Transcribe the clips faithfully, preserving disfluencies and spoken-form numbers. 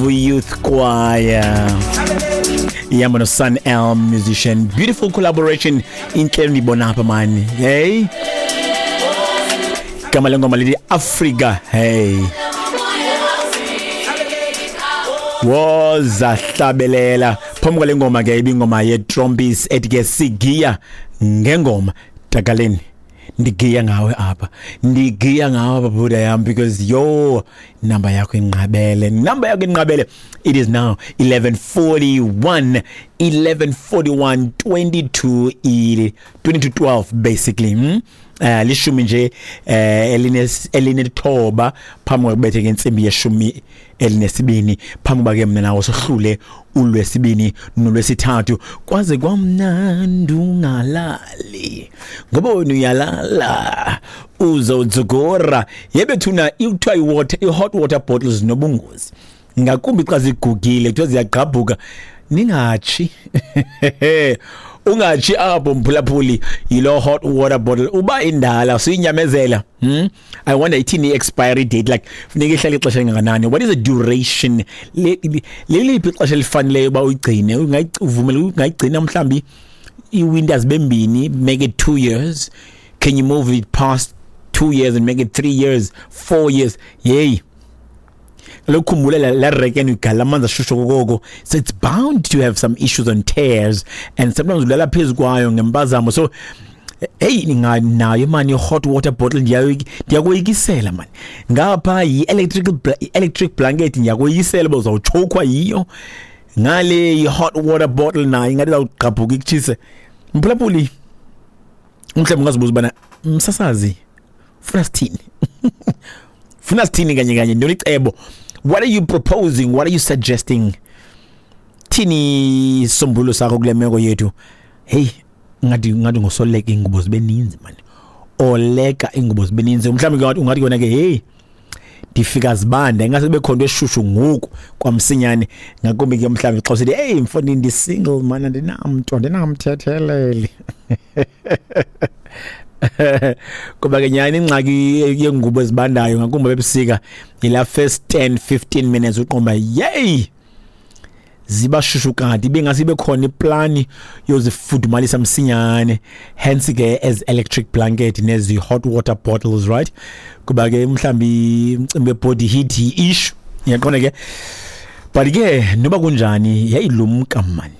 Youth Choir ihamba no-Sun Elm musician. Beautiful collaboration, intle ndiyibona apha mani. Hey, igama lengoma lithi Africa. Hey, wozahlabelela phambi kwale ngoma ke ibingoma yeTrompies ethi ke sigiya ngengoma. Takaleni, ndigiya ngawe apha, ndigiya ngawe apha buda yam, because yo number yakho inqabele, number yakho inqabele. It is now eleven forty-one, eleven forty-one, twenty-two ili twenty to twelve basically, hmm? Uh, lishumi nje eh eline elinethoba phambi kokubethe ngentsimbi yeshumi elinesibini, phambi kuba ke mna nawo sohlule ulwesibini nolwesithathu. Kwaze kwamnandi ungalali ngoba wena uyalala uzodzugora yebethuna. Kuthiwa i-water i-hot water bottles zinobungozi, ngakumbi xa zigugile, kuthiwa ziyagqabhuka. Ningatshi, ungatshi apho mphulaphuli yilo hot water bottle uba indala siyinyamezela, hmm? I wonder ithini i-expiry date, like funeka ihlale ixesha elingakanani? What is the duration? Leliphi ixesha elifaneleyo uba uyigcine? Uvumele ungayigcina mhlawumbi ii-winters bembini, make it two years? Can you move it past two years and make it three years, four years? Yeyi, kaloku khumbula la reken uyigalela amanzi ashushu kokoko, so it's bound to have some issues on tears, and sometimes ulala phezu kwayo ngempazamo. So hey, ninganayo mani i-hot water bottle, ndiyakoyikisela mani. Ngapha yi-electric electric blanket, ndiyakoyisela uba uzawutshokwa yiyo. Ngale i-hot water bottle nayo ingathi izawugqabhuka ikutshise. Mphulaphuli, mhlawumbi ungazibuza ubana msasazi funa sithini, funa sithini kanye kanye, ntoni icebo? What are you proposing? What are you suggesting? Thini isombululo sakho kule meko yethu? Hey, ngathi ngathi ngosoleka ingubo zibe ninzi mani, oleka ingubo zibe ninzi. Mhlawumbi ungathi ungathi kona ke, hey, ndifika zibanda, ingase kube khona into eshushu ngoku kwamsinyane, ngakumbi ke mhlawumbi xa usithi, hey mfondini, ndi-single man, andinamntu, andinamthetheleli. Kuba ke nyhani ingxaki yeengubo ezibandayo, ngakumbi ebusika, yilaa first ten fifteen minutes uqomba yeyi ziba shushu, kanti ibingase ibe khona iplani yozifudumalisa msinyane, hence ke as electric blanket nezi hot water bottles, right? Kuba ke mhlambi umcimbi we-body heat yi-issue, uyaqonda ke. But ke noba kunjani, yayilumka mani.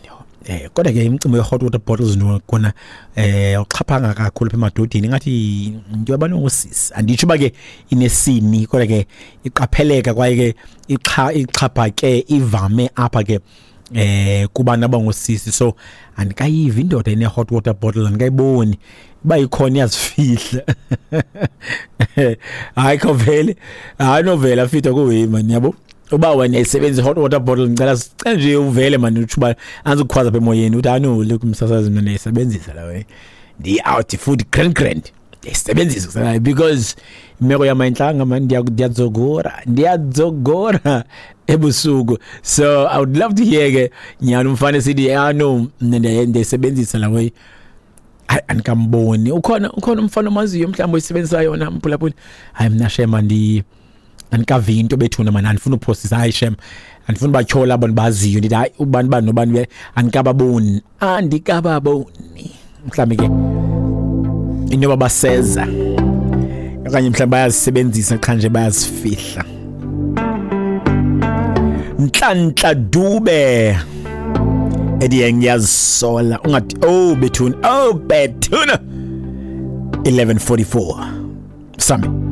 eh kodwa ke imicimbi ye-hot water bottles kona eh uxhaphanga kakhulu apha emadodeni, ngathi into yabanongosisi. Anditsho uba ke inesini, kodwa ke iqapheleka kwaye ke ixa ixhaphake, ivame apha ke eh kubantu abangosisi. So andikayivi indoda ine hot water bottle, andikayiboni. Uba ikhona iyazifihla, hayi khovele, hayi novela fitha kuwe man, yabo. Uba wena uyayisebenzisa i-hot water bottle, ngicela sicela nje uvele mani, utsho uba andizukukhwaza apha emoyeni, uthi hayi look msasazi, mna ndiyayisebenzisa la way, ndiyi-out futhi grand grand, ndiyayisebenzisa because imeko yam ayintlanga mani, ndiyadzogora, ndiyadzogora ebusuku. So I would love to hear ke nyhani umfana esithi, ah no, mna ndiyayisebenzisa la way. Hayi, andikamboni. Ukhona, ukhona umfana omaziyo mhlawumbi oyisebenzisa yona, mphulaphuli? Hayi, mna shem andi andikavi into bethuna mani, andifuna uphosisa. Hayi shem, andifuna batyhola abantu baziyo, ndithi hayi ubani bani nobani, andikababoni, andikababoni. Mhlawumbi ke inoba baseza okanye mhlawumbi bayazisebenzisa qha nje bayazifihla. Nhlanhla Dube ethi ngiyazisola, ungathi oh bethuna, oh bethuna. eleven forty-four sami.